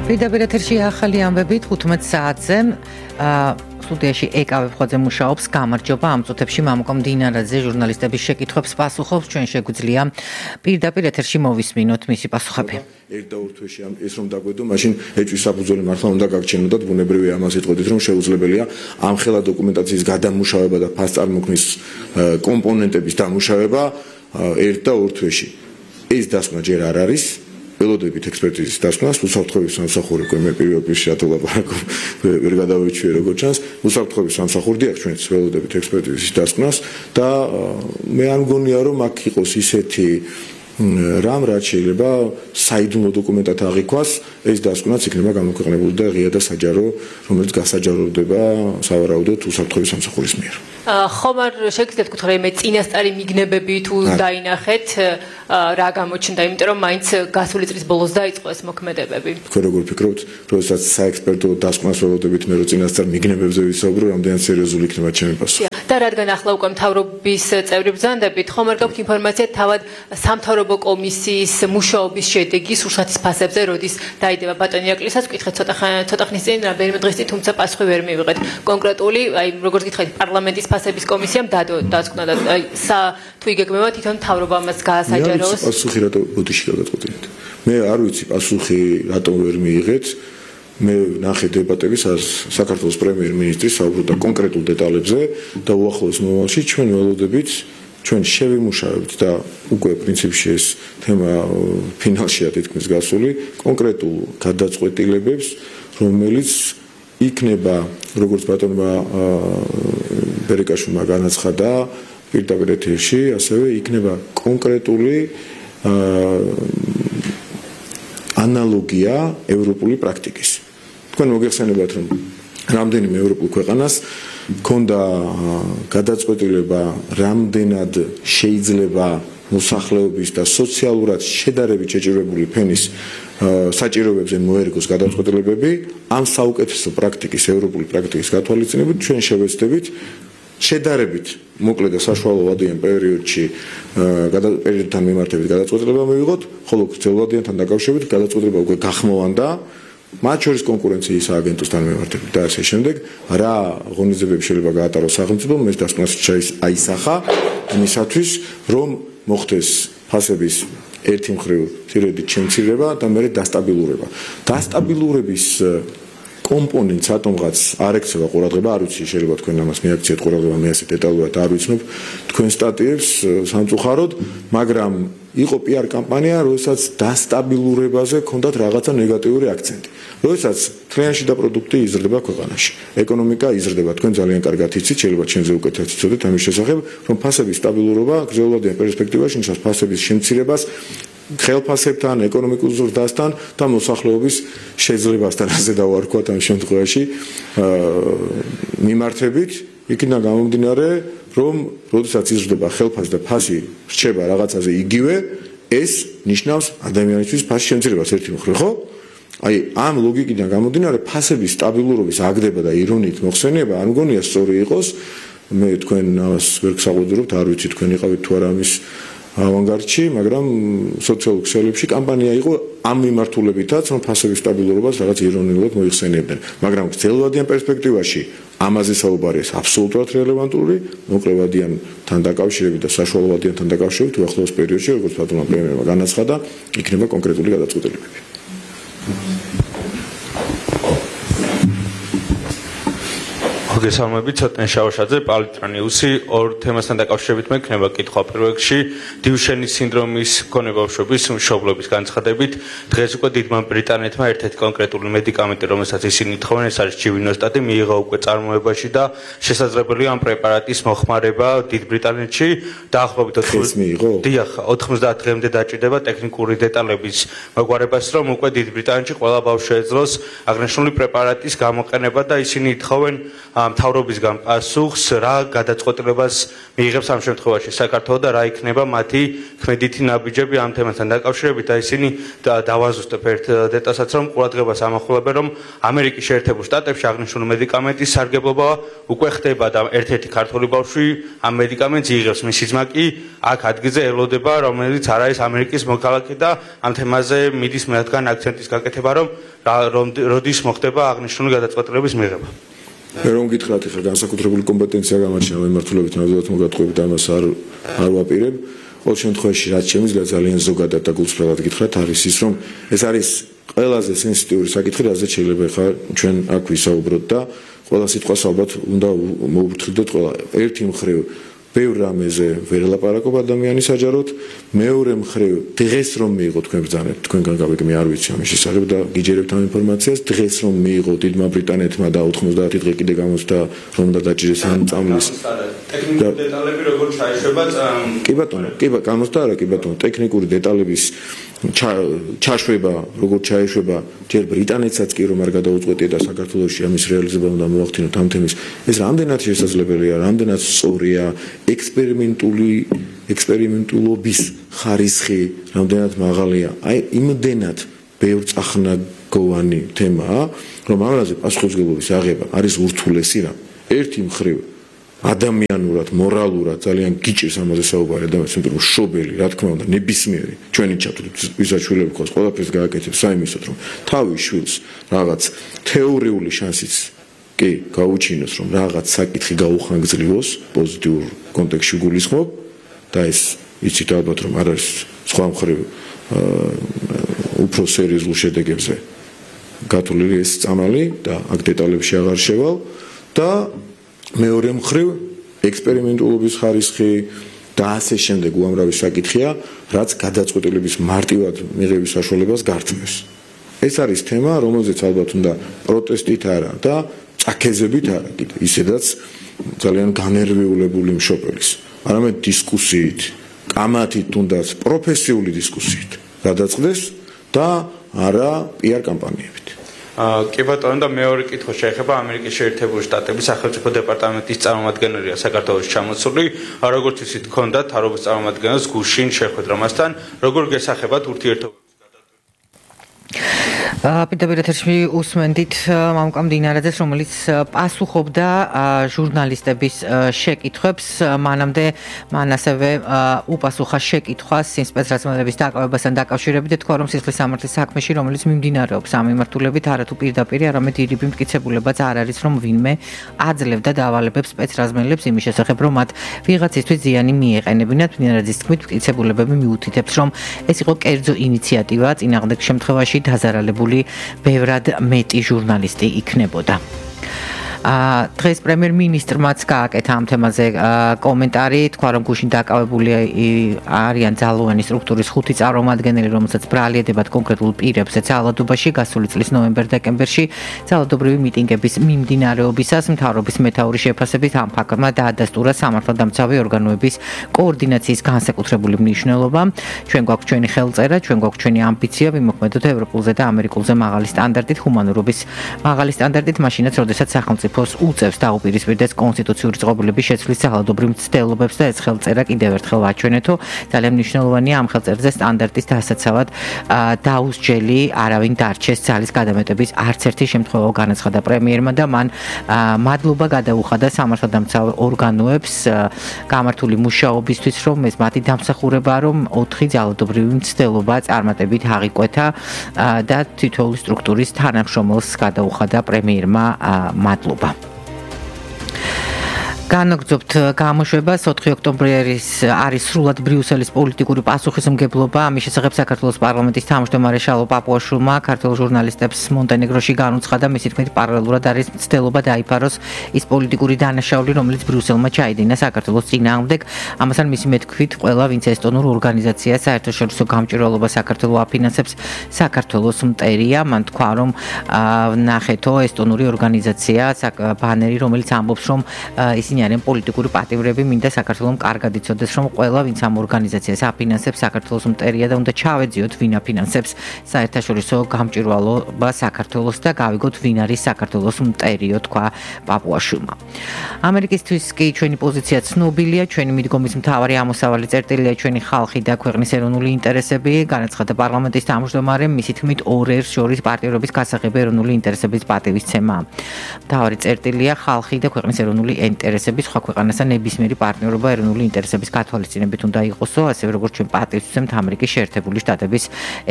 პირდაპირ ეთერში ახალი ამბები 15 საათზე სტუდიაში ეკავ ხოძე მუშაობს გამარჯობა ამ წუთებში მამუკო მდინარაძე ჟურნალისტების შეკითხვებს პასუხობს ჩვენ შეგვიძლია პირდაპირ ეთერში მოვისმინოთ მისი პასუხები ერთ და ორ თვეში ეს რომ დაგვედო მაშინ ეჭვის საფუძველი მართლა უნდა გაგჩენოდათ ბუნებრივია ამას იტყოდით რომ შეუძლებელია ამ ხელა დოკუმენტაციის გადამუშავება და ფასწარმოქმნის კომპონენტების დამუშავება ერთ და ორ თვეში ეს დასკვნა ჯერ არ არის ველოდებით ექსპერტიზის დასკვნას, უსაფრთხოების სამსახური მე პირველ პირში ათოლაპარაკობ ვერ გადავიჩვიე როგორც ჩანს, უსაფრთხოების სამსახური დიახ ჩვენც ველოდებით ექსპერტიზის დასკვნას და მე არ მგონია რომ აქ იყოს ისეთი რამ რაც შეიძლება საიდუმლო დოკუმენტად აღიქვას, ეს დასკვნაც იქნება გამოქვეყნებული და ღია და საჯარო, რომელიც გასაჯაროვდება სავარაუდოდ უსაფრთხოების სამსახურის მიერ. ხომ არ შეგიძლიათ გითხრათ მე წინასწარი მიგნებები თუ დაინახეთ რა გამოჩნდა, იმიტომ რომ მაინც გასული წლის ბოლოს დაიწყო ეს მოქმედებები. თქვენ როგორ ფიქრობთ, როდესაც საექსპერტო დასკვნას ველოდებით მე რო წინასწარ მიგნებებზე ვისაუბრო, რამდენად სერიოზული იქნება ჩემი პასუხი. და რადგან ახლა უკვე მთავრობის წევრი ბრძანდებით, ხომ არ გაქვთ ინფორმაცია თავად სამთავრობო კომისიის მუშაობის შედეგი სურსათის ფასებზე, როდის დაიდება ბატონი აკლისაც, ვკითხეთ ცოტა ხნის წინ, რამდენიმე დღის წინ, თუმცა პასუხი ვერ მივიღეთ. კონკრეტული, აი როგორც გითხარით, პარლამენტის ფასების კომისიამ დასკვნა და აი თუ იგეგმება თვითონ მთავრობა ამას გაასაჯაროს. პასუხი რატო ბოდიში გადაწყვეტილეთ? მე არ ვიცი პასუხი რატომ ვერ მიიღეთ. მე ნახე დებატების საქართველოს პრემიერ-მინისტრი საუბრობდა კონკრეტულ დეტალებზე და უახლოეს მომავალში ჩვენ ველოდებით ჩვენ შევიმუშავებთ და უკვე პრინციპში ეს თემა ფინალშია თითქმის გასული კონკრეტულ გადაწყვეტილებებს რომელიც იქნება როგორც ბატონმა ბერეკაშვილმა განაცხადა პირდაპირ ეთერში ასევე იქნება კონკრეტული ანალოგია ევროპული პრაქტიკის თქვენ მოგეხსენებათ რომ რამდენიმე ევროპულ ქვეყანას ქონდა გადაწყვეტილება რამდენად შეიძლება მოსახლეობის და სოციალურად შედარებით შეჭირებული ფენის საჭიროებებზე მოერგოს გადაწყვეტილებები ამ საუკეთესო პრაქტიკის ევროპული პრაქტიკის გათვალისწინებით ჩვენ შევეცდებით შედარებით მოკლე და საშუალოვადიან პერიოდში პერიოდთან მიმართებით გადაწყვეტილება მივიღოთ, ხოლო გრძელვადიანთან დაკავშირებით გადაწყვეტილება უკვე გახმოვანდა მათ შორის კონკურენციის სააგენტოსთან მიმართებით და ასე შემდეგ რა ღონისძიებები შეიძლება გაატაროს სახელმწიფომ ეს დასკვნას აისახა იმისათვის რომ მოხდეს ფასების ერთი მხრივ თირედით შემცირება და მეორე დასტაბილურება დასტაბილურების კომპონენტს ატომღაც არ ექცევა ყურადღება, არ ვიცი შეიძლება თქვენ ამას მიაქციეთ ყურადღება, მე ასე დეტალურად არ ვიცნობ თქვენ სტატიებს სამწუხაროდ, მაგრამ იყო PR კამპანია, როდესაც დასტაბილურებაზე ჰქონდათ რაღაცა ნეგატიური აქცენტი. როდესაც თლიანში და პროდუქტი იზრდება ქვეყანაში, ეკონომიკა იზრდება, თქვენ ძალიან კარგად იცით, შეიძლება ჩვენზე უკეთად იცოდეთ ამის შესახებ, რომ ფასების სტაბილურობა გრძელვადიან პერსპექტივაში ნიშნავს ფასების შემცირებას ხელფასებთან, ეკონომიკურ ზრდასთან და მოსახლეობის შეძლებასთან ასე დავარქვათ ამ შემთხვევაში მიმართებით იქიდან გამომდინარე რომ როდესაც იზრდება ხელფასი და ფასი რჩება რაღაცაზე იგივე ეს ნიშნავს ადამიანისთვის ფასის შემცირებას ერთი მხრივ ხო? აი ამ ლოგიკიდან გამომდინარე ფასების სტაბილურობის აგდება და ირონიით მოხსენება არ მგონია სწორი იყოს მე თქვენ ამას ვერ გსაყვედურობთ არ ვიცი თქვენ იყავით თუ არა ამის ავანგარდში, მაგრამ სოციალურ ქსელებში კამპანია იყო ამ მიმართულებითაც, რომ ფასების სტაბილურობას რაღაც ირონიულად მოიხსენიებდნენ. მაგრამ გრძელვადიან პერსპექტივაში ამაზე საუბარი ეს აბსოლუტურად რელევანტური, მოკლევადიანთან დაკავშირებით და საშუალოვადიანთან დაკავშირებით უახლოეს პერიოდში, როგორც ბატონმა პრემიერმა განაცხადა, იქნება კონკრეტული გადაწყვეტილებები. მოგესალმებით, ცოტნე შავაშაძე, პალიტრანიუსი, ორ თემასთან დაკავშირებით მე ქნება კითხვა პირველ რიგში დიუშენის სინდრომის მქონე ბავშვების მშობლების განცხადებით დღეს უკვე დიდმა ბრიტანეთმა ერთ-ერთი კონკრეტული მედიკამენტი, რომელსაც ისინი თხოვენ, ეს არის ჯივინოსტატი, მიიღო უკვე წარმოებაში და შესაძლებელია ამ პრეპარატის მოხმარება დიდ ბრიტანეთში. დაახლოებით 90 დღემდე დაჭირდება ტექნიკური დეტალების მოგვარებას, რომ უკვე დიდ ბრიტანეთში ყველა ბავშვი ეძლოს აღნიშნული პრეპარატის გამოყენება და ისინი თხოვენ მთავრობისგან პასუხს რა გადაწყვეტილებას მიიღებს ამ შემთხვევაში საქართველო და რა იქნება მათი ქმედითი ნაბიჯები ამ თემასთან დაკავშირებით და ისინი დავაზუსტებ ერთ დეტალსაც რომ ყურადღებას ამახვილებენ რომ ამერიკის შეერთებულ შტატებში აღნიშნული მედიკამენტის სარგებლობა უკვე ხდება და ერთ-ერთი ქართული ბავშვი ამ მედიკამენტს იღებს მისი ძმა კი აქ ადგილზე ელოდება რომელიც არ არის ამერიკის მოქალაქე და ამ თემაზე მიდის მათგან აქცენტის გაკეთება რომ როდის მოხდება აღნიშნული გადაწყვეტილების მიღება რომ გითხრათ ახლა განსაკუთრებული კომპეტენცია გამარჩენა მემართულებით ნამდვილად მოგატყუებით ამას არ ვაპირებ ყოველ შემთხვევაში რაც შემიძლია ძალიან ზოგადად და გულწრფელად გითხრათ არის ის რომ ეს არის ყველაზე სენსიტიური საკითხი რაზეც შეიძლება ახლა ჩვენ აქ ვისაუბროთ და ყველა სიტყვას ალბათ უნდა მოუფრთხილდეთ ყველა ერთი მხრივ ბევრ რამეზე ვერ ელაპარაკობ ადამიანის საჯაროდ მეორე მხრივ დღეს რომ მიიღო თქვენ ბრძანეთ თქვენგან გავიგე მე არ ვიცი ამის შესახებ და გიჯერებთ ამ ინფორმაციას დღეს რომ მიიღო დიდმა ბრიტანეთმა და 90 დღე კიდე გამოსდა რომ და დაჭირეს ამ წამლის ტექნიკური დეტალები როგორ ჩაიშვება კი ბატონო გამოსდა არა კი ბატონო ტექნიკური დეტალების ჩაშვება როგორ ჩაიშვება ჯერ ბრიტანეთსაც კი რომ არ გადაუწყვეტია და საქართველოში ამის რეალიზება უნდა მოახდინოთ ამ თემის ეს რამდენად შესაძლებელია რამდენად სწორია ექსპერიმენტულობის ხარისხი რამდენად მაღალია აი იმდენად ბევრ წახნაგოვანი თემაა რომ ამაზე პასუხისმგებლობის აღება არის ურთულესი რა ერთი მხრივ ადამიანურად მორალურად ძალიან გიჭირს ამაზე საუბარი ადამიანს იმიტომ რომ შობელი რა თქმა უნდა ნებისმიერი ჩვენი ჩათვლით ვიზაჩვილები ყავს ყველაფერს გააკეთებს საიმისოდ რომ თავის შვილს რაღაც თეორიული შანსიც კი გაუჩინოს რომ რაღაც საკითხი გაუხანგრძლივოს პოზიტიურ კონტექსტში გულისხმობ და ეს იცით ალბათ რომ არ არის სხვა მხრივ უფრო სერიოზულ შედეგებზე გათვლილი ეს წამალი და აქ დეტალებში აღარ შევალ და მეორე მხრივ ექსპერიმენტულობის ხარისხი და ასე შემდეგ უამრავი საკითხია რაც გადაწყვეტილების მარტივად მიღების საშუალებას გართმევს ეს არის თემა რომელზეც ალბათ უნდა პროტესტით არა და წაქეზებით არა კიდე ისედაც ძალიან განერვიულებული მშობელის არამედ დისკუსიით კამათით თუნდაც პროფესიული დისკუსიით გადაწყდეს და არა პიარ კამპანიებით კი ბატონო და მეორე კითხვა შეეხება ამერიკის შეერთებული შტატების სახელმწიფო დეპარტამენტის წარმომადგენელია საქართველოში ჩამოსული როგორც ისიც ჰქონდა თავრობის წარმომადგენელს გუშინ შეხვედრა მასთან როგორ გესახებათ ურთიერთობებს პირდაპირ ეთერში უსმენდით მამუკა მდინარაძეს, რომელიც პასუხობდა ჟურნალისტების შეკითხვებს, მანამდე მან ასევე უპასუხა შეკითხვას სპეცრაზმელების დაკავებასთან დაკავშირებით და თქვა, რომ სისხლის სამართლის საქმეში, რომელიც მიმდინარეობს ამ მიმართულებით, არათუ პირდაპირ, არამედ ირიბი მტკიცებულებაც არ არის, რომ ვინმე აძლევდა დავალებებს სპეცრაზმელებს იმის შესახებ, რომ მათ ვიღაცისთვის ზიანი მიეყენებინათ. მდინარაძის თქმით, მტკიცებულებები მიუთითებს, რომ ეს იყო კერძო ინიციატივა, წინააღმდეგ შემთხვევაში დაზარალებული ბევრად მეტი ჟურნალისტი იქნებოდა. დღეს პრემიერ-მინისტრმაც გააკეთა ამ თემაზე კომენტარი, თქვა რომ გუშინ დაკავებული არიან ძალოვანი სტრუქტურის 5 წარმომადგენელი, რომელსაც ბრალიედებათ კონკრეტულ პირებზე ძალადობაში გასული წლის ნოემბერ-დეკემბერში ძალადობრივი მიტინგების მიმდინარეობისას მთავრობის მეთაურის შეფასებით ამ ფაქტმა დაადასტურა სამართალდამცავი ორგანოების კოორდინაციის განსაკუთრებული მნიშვნელობა. ჩვენ გვაქვს ჩვენი ხელწერა, ჩვენ გვაქვს ჩვენი ამბიცია, ვიმოქმედოთ ევროპულზე და ამერიკულზე მაღალი სტანდარტით, ჰუმანურობის მაღალი სტანდარტით, მაშინაც როდესაც სახელმწიფო უწევს დაუპირისპირდეს კონსტიტუციური წყობილების შეცვლის ძალადობრივ მცდელობებს და ეს ხელწერა კიდევ ერთხელ ვაჩვენეთო. ძალიან მნიშვნელოვანია ამ ხელწერზე სტანდარტის დასაცავად დაუსჯელი არავინ დარჩეს ძალის გადამეტების არც ერთი შემთხვევა განაცხადა პრემიერმა და მან მადლობა გადაუხადა სამართალდამცავ ორგანოებს გამართული მუშაობისთვის, რომ ეს მათი დამსახურებაა, რომ 4 ძალადობრივი მცდელობა წარმატებით აღიკვეთა და თითოეული სტრუქტურის თანამშრომელს გადაუხადა პრემიერმა მადლობა. განაგრძობთ გამოშვებას 4 ოქტომბრის არის სრულად ბრიუსელის პოლიტიკური პასუხისმგებლობა. ამის შესახებ საქართველოს პარლამენტის თავმჯდომარე შალო პაპუაშვილმა ქართველ ჟურნალისტებს მონტენეგროში განუცხადა, მისი თქმით პარალელურად არის მცდელობა დაიფაროს ის პოლიტიკური დანაშაული, რომელიც ბრიუსელმა ჩაიდინა საქართველოს წინააღმდეგ. ამასთან მისი მეთქვით, ყველა ვინც ესტონურ ორგანიზაციას საერთაშორისო გამჭვირვალობა საქართველოს აფინანსებს, საქართველოს მტერია. მან თქვა, რომ ნახეთო ესტონური ორგანიზაცია ბანერი, რომელიც ამბობს, რომ ისინი ისინი არიან პოლიტიკური პატიმრები, მინდა საქართველოს კარგად იცოდეს, რომ ყველა ვინც ამ ორგანიზაციას აფინანსებს, საქართველოს მტერია და უნდა ჩავეძიოთ, ვინ აფინანსებს საერთაშორისო გამჭვირვალობა საქართველოს და გავიგოთ, ვინ არის საქართველოს მტერიო, თქვა პაპუაშვილმა. ამერიკისთვის კი ჩვენი პოზიცია ცნობილია, ჩვენი მიდგომის მთავარი ამოსავალი წერტილია ჩვენი ხალხი და ქვეყნის ეროვნული ინტერესები, განაცხადა პარლამენტის თავმჯდომარემ, მისი თქმით, ორ ერს შორის პარტიურობის გასაღები ეროვნული ინტერესების პატივისცემა. მთავარი წერტილია ხალხი და ქვეყნის ეროვნული ინტერესები, სხვა ქვეყანასთან ნებისმიერი პარტნიორობა ეროვნული ინტერესების გათვალისწინებით უნდა იყოსო, ასევე როგორც ჩვენ პატივისცემთ ამერიკის შეერთებული შტატების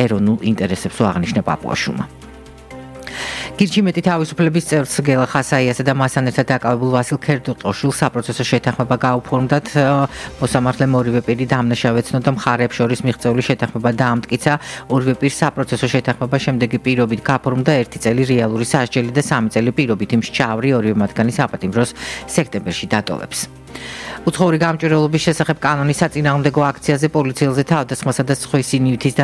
ეროვნულ ინტერესებს აღნიშნა პაპუაშვილმა. გირჩი მეტი თავისუფლების წევრს გელა ხასაიასა და მასთან ერთად დაკავებულ ვასილ ქერდუყოშვილს საპროცესო შეთანხმება გაუფორმდათ. მოსამართლემ ორივე პირი დამნაშავე ეცნო და მხარეებს შორის მიღწეული შეთანხმება დაამტკიცა. ორივე პირს საპროცესო შეთანხმება შემდეგი პირობით გაფორმდა 1 წელი რეალური სასჯელი და 3 წელი პირობით იმ შჭავრი ორივე მათგანი საპატიმროს სექტემბერში დატოვებს. უცხოური გამჭვირვალობის შესახებ კანონის საწინააღმდეგო აქციაზე პოლიციელზე თავდასხმასა და სხვისი ნივთის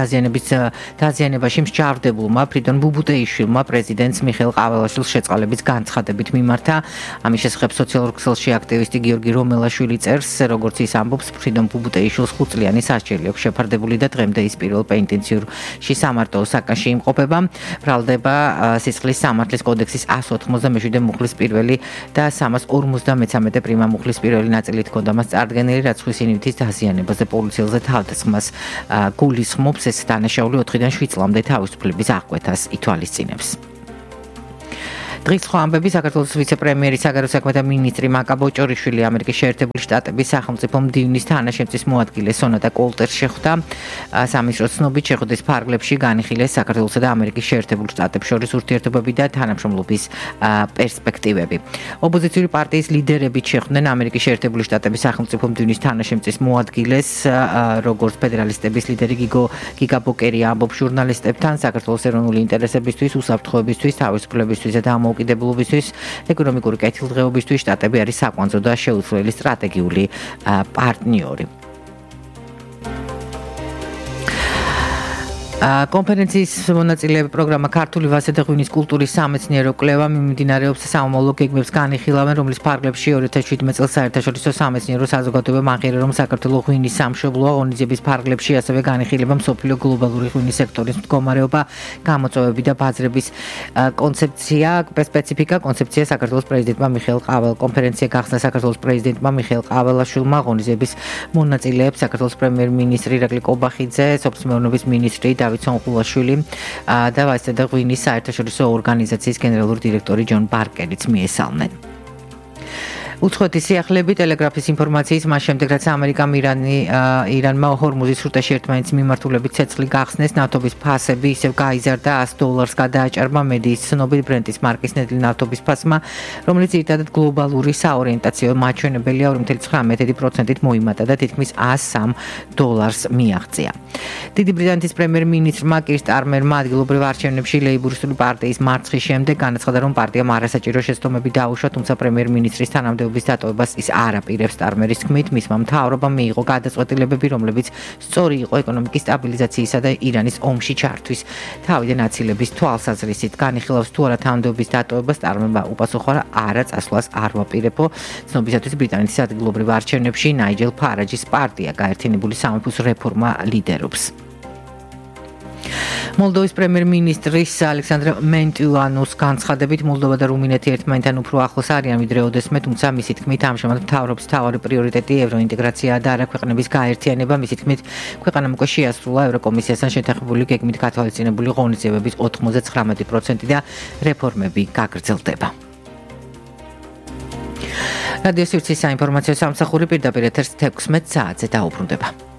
დაზიანებაში მსჯავრდებულმა ფრიდონ ბუბუტეიშვილმა პრეზიდენტს მიხეილ ყაველაშვილს შეწყალების განცხადებით მიმართა. ამის შესახებ სოციალურ ქსელში აქტივისტი გიორგი რომელაშვილი წერს, როგორც ის ამბობს, ფრიდონ ბუბუტეიშვილს 5 წლიანი სასჯელი აქვს შეფარდებული და დღემდე ის პირველ პენიტენციურში სამარტოო საკანში იმყოფება. ბრალდება სისხლის სამართლის კოდექსის 197 მუხლის პირველი და 353 პრიმა მუხლის პირველი ნაწილი ჰქონდა მას წარდგენილი, რაც სხვისი ნივთის დაზიანებაზე პოლიციელზე თავდასხმას გულისხმობს. ეს დანაშაული 4-დან 7 წლამდე თავისუფლების აღკვეთას ითვალისწინებს. დღის სხვა ამბები საქართველოს ვიცე-პრემიერი საგარეო საქმეთა მინისტრი მაკა ბოჭორიშვილი ამერიკის შეერთებული შტატების სახელმწიფო მდივნის თანაშემწის მოადგილე სონატა კოლტერს შეხვდა. სამინისტრო ცნობით შეხვედრის ფარგლებში განიხილეს საქართველოსა და ამერიკის შეერთებულ შტატებს შორის ურთიერთობები და თანამშრომლობის პერსპექტივები. ოპოზიციური პარტიის ლიდერებით შეხვდნენ ამერიკის შეერთებული შტატების სახელმწიფო მდივნის თანაშემწის მოადგილეს, როგორც ფედერალისტების ლიდერი გიგა ბოკერი ამბობს ჟურნალისტებთან, საქართველოს ეროვნული ინტერესებისთვის, უსაფრთხოებისთვის, თავისუფლებისთვის და უკიდებლობისთვის, ეკონომიკური კეთილდღეობისთვის შტატები არის საკვანძო და შეუცვლელი სტრატეგიული პარტნიორი. კონფერენციის მონაწილეები პროგრამა ქართული ვაზა და ღვინის კულტურის სამეცნიერო კვლევა მიმდინარეობს სამომავლო გეგმებს განიხილავენ, რომლის ფარგლებში 2017 წელს საერთაშორისო სამეცნიერო საზოგადოებამ აღიარა, რომ საქართველოს ღვინის სამშობლოა. ღონისძიების ფარგლებში ასევე განიხილება მსოფლიო გლობალური ღვინის სექტორის მდგომარეობა, გამოწვევები და ბაზრების კონცეფცია, სპეციფიკა, კონცეფცია საქართველოს პრეზიდენტმა მიხეილ ყაველაშვილმა. კონფერენცია გახსნა საქართველოს პრეზიდენტმა მიხეილ ყაველაშვილმა, ღონისძიების მონაწილეებს საქართველოს პრემიერ-მინისტრი ირაკლი კობახიძე, სოფლის მეურნეობის მინისტრი დავით და ვაზა და ღვინის საერთაშორისო ორგანიზაციის გენერალური დირექტორი ჯონ ბარკერიც მიესალმნენ. უცხოეთის სიახლეები ტელეგრაფის ინფორმაციის მას შემდეგ, რაც ამერიკამ ირანმა ჰორმუზის სრუტეში ერთმანეთის მიმართულებით ცეცხლი გახსნეს, ნავთობის ფასები ისევ გაიზარდა $100 გადააჭარბა მედიის ცნობით ბრენტის მარკის ნედლი ნავთობის ფასმა, რომელიც ძირითადად გლობალური საორიენტაციო მაჩვენებელია 2.9%-ით მოიმატა და თითქმის $103 მიაღწია. დიდი ბრიტანეთის პრემიერ-მინისტრმა კირ სტარმერმა ადგილობრივ არჩევნებში ლეიბორისტული პარტიის მარცხის შემდეგ განაცხადა, რომ პარტიამ არასაჭირო შეცდომები დაუშვა, თუმცა პრემიერ-მინისტრის თანამდებობის დატოვებას ის არ აპირებს. სტარმერის თქმით, მისმა მთავრობამ მიიღო გადაწყვეტილებები, რომლებიც სწორი იყო ეკონომიკის სტაბილიზაციისა და ირანის ომში ჩართვის თავიდან აცილების თვალსაზრისით. განიხილავს თუ არა თანამდებობის დატოვებას, სტარმერმა უპასუხა, არა წასვლას არ ვაპირებო. ცნობისათვის ბრიტანეთის ადგილობრივ არჩევნებში ნაიჯელ ფარაჯის პარტია გაერთიანებული სამეფოს რეფორმა ლიდერობს. მოლდოვის პრემიერ-მინისტრის ალექსანდრე მენტიუანოს განცხადებით, მოლდოვა და რუმინეთი ერთმანეთთან უფრო ახლოს არიან ვიდრე ოდესმე, თუმცა მისი თქმით, ამჟამად მთავრობის მთავარი პრიორიტეტი ევროინტეგრაციაა და არა ქვეყნების გაერთიანება. მისი თქმით, ქვეყანამ უკვე შეასრულა ევროკომისიასთან შეთანხმებული გეგმით გათვალისწინებული ღონისძიებების 99% და რეფორმები გაგრძელდება. რადიო სივრცის საინფორმაციო სამსახური პირდაპირ ეთერს 16 საათზე დაუბრუნდება.